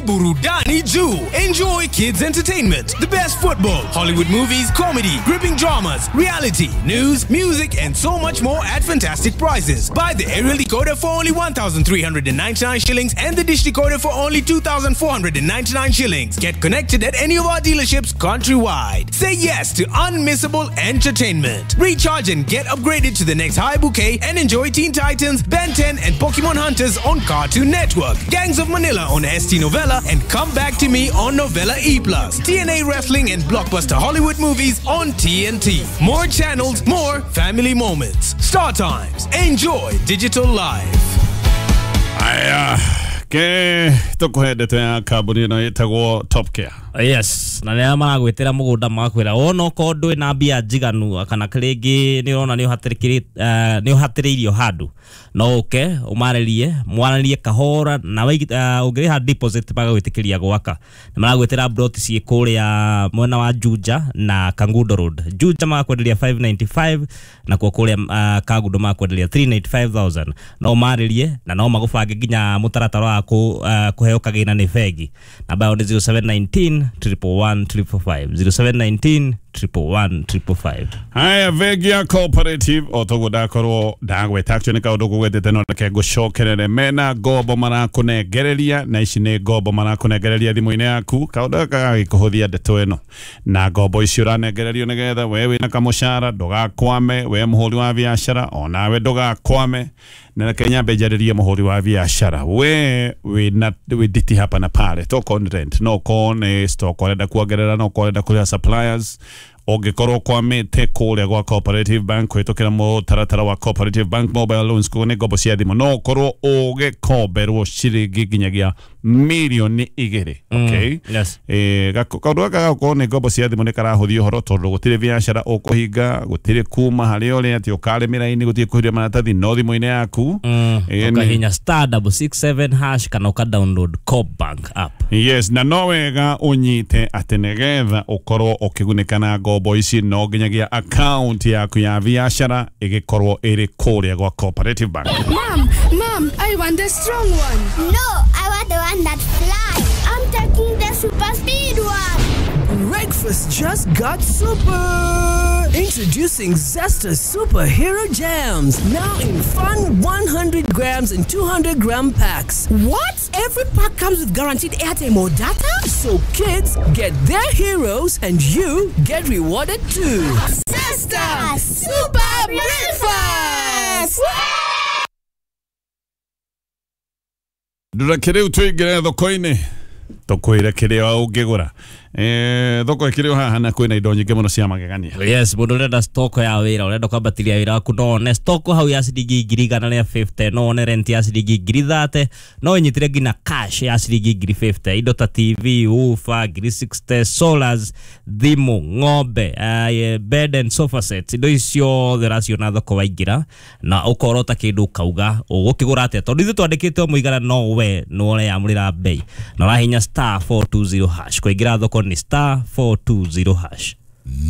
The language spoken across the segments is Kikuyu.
Burudani juu. Enjoy kids entertainment, the best football, Hollywood movies, comedy, gripping dramas, reality, news, music, and so much more at fantastic prices. Buy the aerial decoder for only 1,399 shillings and the dish decoder for only 2,499 shillings. Get connected at any of our dealerships countrywide. Say yes to unmissable entertainment. Recharge and get upgraded to the next high bouquet and enjoy Teen Titans, Ben 10, and Pokemon Hunters on Cartoon Network, Gangs of Manila on ST Novella, and Come Back to Me on Novella E+, TNA Wrestling and Blockbuster Hollywood movies on TNT. More channels, more family moments. Star Times. Enjoy digital life. Aya, ke tũkũhe ndeto ya kambuni ĩno ĩtagwo Top Care. Yes, na nä maragwä må gå nda magakwä ra wona okorwo ndå na mbia njiganu kana rĩngĩ nĩ ũrona nĩ ũhatĩrĩirio handũ, no ũke ũmarĩrie mwaranĩrie kahora na ũngĩrĩha deposit magagwĩtĩkĩria gwaka. Nĩ maragwĩtĩra plot ciĩ kũrĩa mwena wa Juja na Kangundo Road. Juja magakwenderia 595, nakuo kũrĩa Kangundo magakwenderia 395,000. No ũmarĩrie na no magũbange nginya mũtaratara wa kũheo kagĩna nĩ bengi. Namba yao nĩ 0719 111 555, 0719 111 555. Haya, bengi ya Cooperative o toguo ndakorwo ndagweta, actually nĩ kaũndũ ngũgwetete no reke ngũcokerere. Mena ngombo marakũnengereria, na ici nĩ ngombo marakũnengereria thimũ-inĩ yaku. Kaũndũ gaka gagĩkũhũthia ndeto ĩno, na ngombo ici ũranengererio nĩgetha we wĩna kamũcara ndũgakwame, we mũhũri wa biacara onawe ndũgakwame. Na reke nyambe njarĩrie mũhũri wa biacara, we wĩna wĩ nditi hapa na pale, tokorwo nĩ rent, no okorwo nĩ stock ũrenda kuongerera, no okorwo ũrenda kũrĩha suppliers, ũngĩkorwo kwamĩte kũrĩa gwa Cooperative Bank kũhĩtũkĩra mũtaratara wa Cooperative Bank Mobile Loans, koguo nĩ ngombo cia thimũ, no ũkorwo ũgĩkomberwo ciringi nginyagia 2 mirioni. Okay. Yes. Kaũndũ gaka gakorwo nĩ ngombo cia thimũ nĩ karahũthia ũhoro, tondũ gũtirĩ biacara ũkũhinga, gũtirĩ kuma harĩa ũrĩ atĩ ũkarĩmĩra-inĩ, gũtirĩ kũhiria maratathi, no thimũ-inĩ yaku. Ũkahihinya *667# kana ũka download Co-op Bank app. Yes, na no wega ũnyite atĩ nĩgetha ũkorwo ũkĩgunĩka na ngombo ici, no nginyagia account yaku ya biacara ĩgĩkorwo ĩrĩ kũrĩa gwa Cooperative Bank. Mom, Mom, I want the strong one. No, I want the one that flies. I'm taking the super speed one. Breakfast just got super! Introducing Zesta Superhero Jams, now in fun 100 grams and 200 gram packs. What? Every pack comes with guaranteed airtime or data? So kids get their heroes and you get rewarded too. Zesta Super Breakfast! Ndũreke rĩu tũingĩre thoko-inĩ, tũkwĩre kĩrĩa ũngĩgũra. Thoko ĩkĩrĩ o haha na kwĩna indo nyingĩ mũno cia magegania. Yes, mũndũ ũrenda stock ya wĩra, ũrenda kwambatĩria wĩra waku, no one stock hau ya ciringi 150,000, no one rent ya ciringi 30,000, no ũnyitĩre nginya cash ya ciringi 50,000. Indo ta TV, woofer 60,000, solars, thimũ, ng'ombe, bed and sofa sets, indo ici ciothe ũraciona thoko waingĩra, na ũkorota kĩndũ ũkauga ũgũkĩgũra atĩa, tondũ ithuĩ twandĩkĩte o mũigana, no we nĩ ũreyamũrĩra mbei, na ũrahihinya *420#. Kũingĩra thoko nĩ *420#.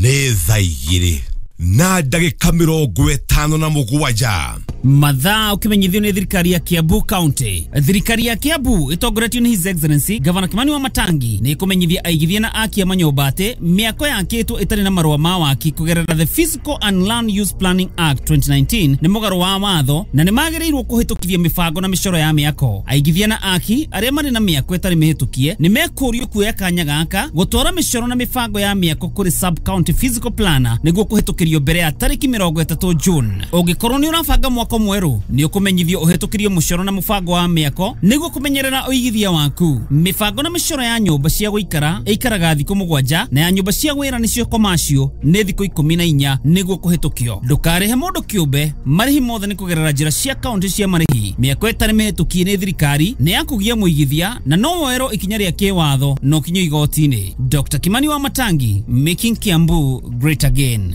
Nĩ thaa 2 na ndagĩka 57. Mathaa ukimenyithio nĩ thirikari ya Kiambu County. Thirikari ya Kiambu ĩtongoretio nĩ His Excellency Gavana Kimani wa Matangi nĩ ĩkũmenyithia aigithia na aki a manyũmba atĩ mĩako yakĩtwo ĩtarĩ na marũa ma waki kũgerera the Physical and Land Use Planning Act 2019 nĩ mũgarũ wa watho na nĩ magĩrĩirwo kũhĩtũkithia mĩbango na mĩcoro ya mĩako. Aigithia na aki arĩa marĩ na mĩako ĩtarĩ mĩhĩtũkie nĩ mekũrio kuoya kanya gaka gũtwara mĩcoro na mĩbango ya mĩako kũrĩ sub county physical planner nĩguo kũhĩtũkĩrio mbere ya tarĩki 30 June. Ũngĩkorwo nĩ ũrabanga mwako mwerũ, nĩ ũkũmenyithio ũhĩtũkĩrio mũcoro na mũbango wa mĩako nĩguo kũmenyerera ũigithia waku. Mĩbango na mĩcoro ya nyũmba cia gũikara ĩikaraga thikũ 7, na ya nyũmba cia wĩra nĩcio commercial nĩ thikũ 14 nĩguo kũhĩtũkio. Ndũkarĩhe mũndũ kĩũmbe, marĩhi mothe nĩ kũgerera njĩra cia kaunti cia marĩhi. Mĩako ĩtarĩ mĩhĩtũkie nĩ thirikari nĩ ya kũgia mũigithia na no woerwo ikinya rĩa kĩwatho na ũkinyio igoti-inĩ. Dr. Kimani wa Matangi, making Kiambu great again.